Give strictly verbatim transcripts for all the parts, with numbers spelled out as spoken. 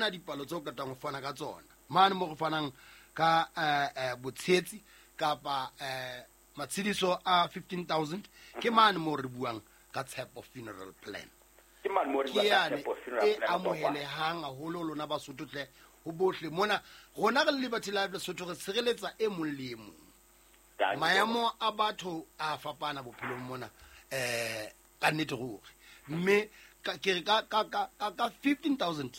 Tsena dipalo tseo qetang ho fana ka tsona mane mo re fanang ka eh, eh, botshetsi kapa eh, matshediso a fifteen thousand ke mane mo re buang ka Tshepo funeral plan. Ke mane mo re Ke buang ka yane Tshepo funeral e plan, Kwakwa. amohelehang haholo lona Basotho tle ho bohle mona rona re le Liberty Life Lesotho re tshireletsa e mong le e mong. Thank you, Maemo a batho a fapana bophelong mona eh ka nnete ruri, mme ka ke re ka ka ka ka, ka fifteen thousand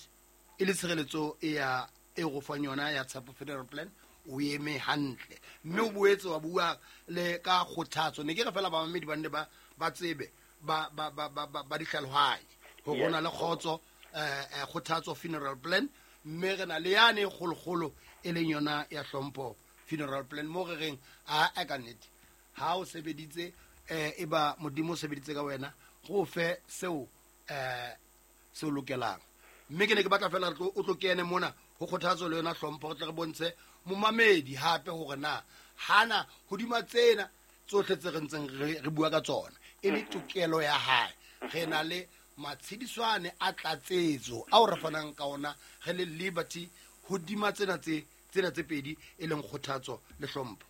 e le tshireletso e ya e go fang yona ya Tshepo funeral plan o eme hantle, mme o boetse wa bua le ka kgothatso. Ne ke re fela bamamedi ba nne ba ba tsebe ba ba ba ba ba, ba ditlhalohanye hore Yes. ho na le kgotso eh, eh, kgothatso funeral plan, mme re na le yane e kgolokgolo e leng yona ya hlompho funeral plan mo re reng a a ka nnete ha o sebeditse eh e ba Modimo o sebeditse ka wena go fe seo eh seo lokelang. Mme ke ne ke batla fela re tlo- o tlo kene mona ho kgothatso le yona hlompho, re tle re bontshe momamedi hape hore na hana hodima tsena tsohle tse re ntseng re re bua ka tsona e le tokelo ya hae. Re na le matshediswane a tlatsetso ao re fanang ka ona re le Liberty hodima tsena tse tsena tse pedi e leng kgothatso le hlompho.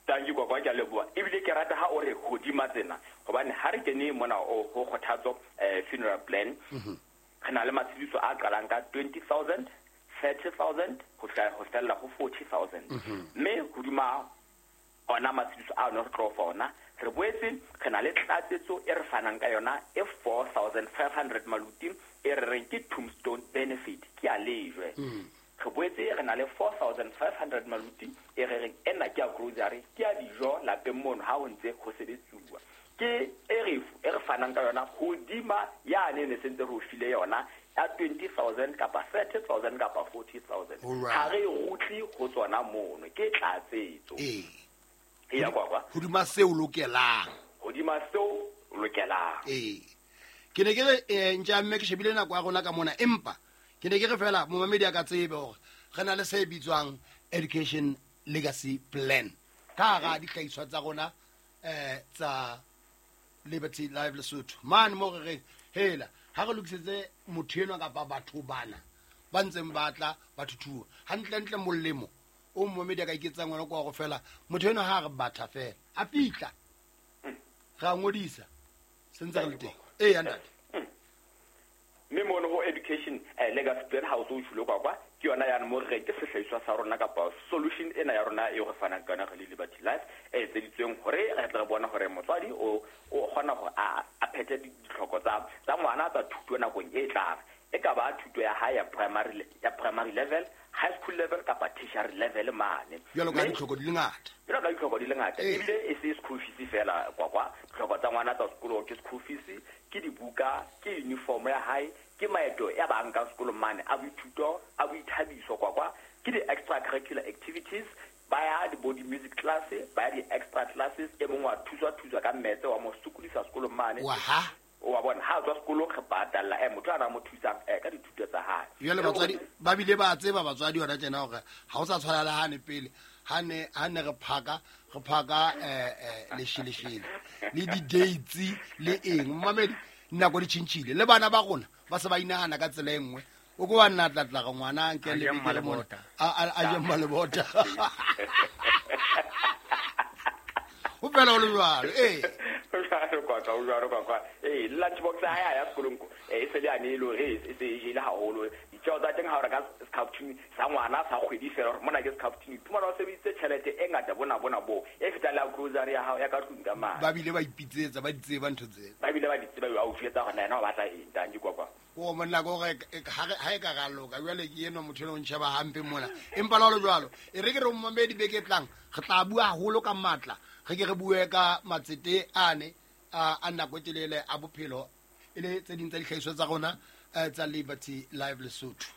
Thank you, Kwakwa, ke a leboha. Ebile ke rata ha o re hodima tsena, hobane ha re kene mona o ho kgothatso eh, funeral plan, re na le matshediso a qalang ka twenty thousand, thirty thousand, ho fihla ho fella ho forty thousand. Mme hodima ona matshediso a no re tlo fa ona, re boetse re na le tlatsetso e re fanang ka yona e four thousand five hundred maluti e re reng ke tombstone benefit, ke ya lejwe. Re boetse re na le four thousand five hundred maluti e re reng ena ke ya grocery, ke ya dijo lapeng mono ha ho ntse ho sebetsuwa. Ke e re e re fanang ka yona hodima yane ne sentse re o file yona ya twenty thousand kapa thirty thousand kapa forty thousand. Alright. Ha re rutle ho tsona mono, ke tlatsetso. Ee. Eya, Kwakwa. Hodima seo lokelang. Hodima seo lokelang. Ee. Ke ne ke re, eh, ntja mme ke shebile nako ya rona ka mona, empa ke ne ke re fela momamedi a ka tsebe hore re na le se bitswang education legacy plan ka hara dihlahiswa tsa rona eh tsa Liberty Life Lesotho. Mane mo re reng hela ha re lokisetse motho enwa kapa batho bana ba ntseng ba tla ba thuthuwa hantlentle, molemo o momamedi a ka iketsang wena ke wa go fela motho enwa ha re batha fela a fihla re a ngodisa se ntse re le teng. Ee, ntate. Mme mono ho education eh, legacy plan ha o so o tjholo Kwakwa, ke yona yane mo re reng ke sehlahiswa sa rona kapa solution ena ya rona eo re fanang ka yona re le Liberty Life e etseditsweng hore re tle re bone hore motswadi o o kgona hore a a phethe ditlhoko tsa tsa ngwana tsa thuto nakong e tlang, e ka ba thuto ya hae ya primary le-, ya primary level, high school level kapa tertiary level mane. Jwalo ka Mme ditlhoko di le ngata. Jwalo ka ditlhoko di le ngata. Ee. Ebile e se school fees fela, Kwakwa. Ditlhoko tsa ngwana tsa sekolo ke school fees, ke dibuka, ke uniform ya hae, ke maeto ya ba nkang sekolong mane a boithuto, a boithabiso, Kwakwa, ke di-extra curricular activities, ba ya di-body music class, ba ya di-extra classes, e mong wa thuswa thuswa ka mmetse wa mo sokodisa sekolong mane. Wa ha? Wa bona ha tswa sekolong re patalla eh motho a na mo thusang eh ka dithuto tsa hae. Jwale batswadi ba bile ba tseba batswadi hona tjena hore ha o sa tshwana le hane pele, ha ne ha ne re phaka, re phaka, eh, eh, lesheleshele le di-dates le eng. Momamedi, nako di tjhentjhile le bana ba rona ba se ba inahana ka tsela e nngwe. O ko wa nna tla tla re ngwana a nke A le je beke le mona. mmalebota. A, a, a je mmalebota. Ho fela ho le jwalo, ee. Ho jwalo, Kwakwa, ho jwalo, Kwakwa. Ee, lunch box ya hae ya sekolong ko, eh, e se le yane e le hore e se e jele haholo. Ditjeo tsa teng ha o reka scaftini sa ngwana sa kgwedi fela, hore mona ke scaftini, iphumana o sebedisitse tjhelete e ngata bona bona bo, e fetang le ya grocery ya hao ya ka tlung ka mane. Ba bile ba ipitsetsa, ba di tseba ntho tsena. Ba bile ba di tseba, ba o jwetsa hore na yena o batla eng, tanki, Kwakwa. O monna ke hore e, ha re, ha e ka ra loka, jwale ke enwa motho enwa o ntjheba hampe mona. Empa le ha ho le jwalo, e re ke re momamedi beke e tlang, re tla bua haholo ka matla, re ke re bue ka matsete ane a, a nako e telele a bophelo, e le tse ding tsa dihlahiswa tsa rona, eh, tsa Liberty Life Lesotho.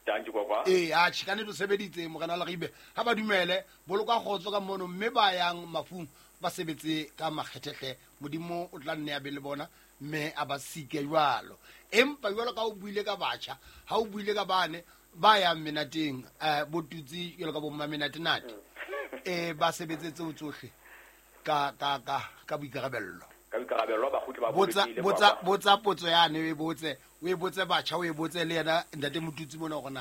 Tanki, Kwakwa. Ee, atjhe, ka nnete o sebeditse, Morena Leribe. Ha ba dumele, boloka kgotso ka mono, mme ba yang mafung ba sebetse ka makgethehle. Modimo o tla nne a be le bona, mme a ba sike jwalo. Empa jwalo ka o buile ka batjha, ha o buile ka bane ba yang menateng, eh, bo tutsi jwalo ka bo mmamenatenate, eh, ba sebetse tseo tsohle ka, ka, ka, ka boikarabello. Ka boikarabello ba kgutle ba Botsa, bolokehile, botsa, Kwakwa. botsa potso yane, o e botse, o e botse batjha, o e botse le yena ntate Motutsi mona hore na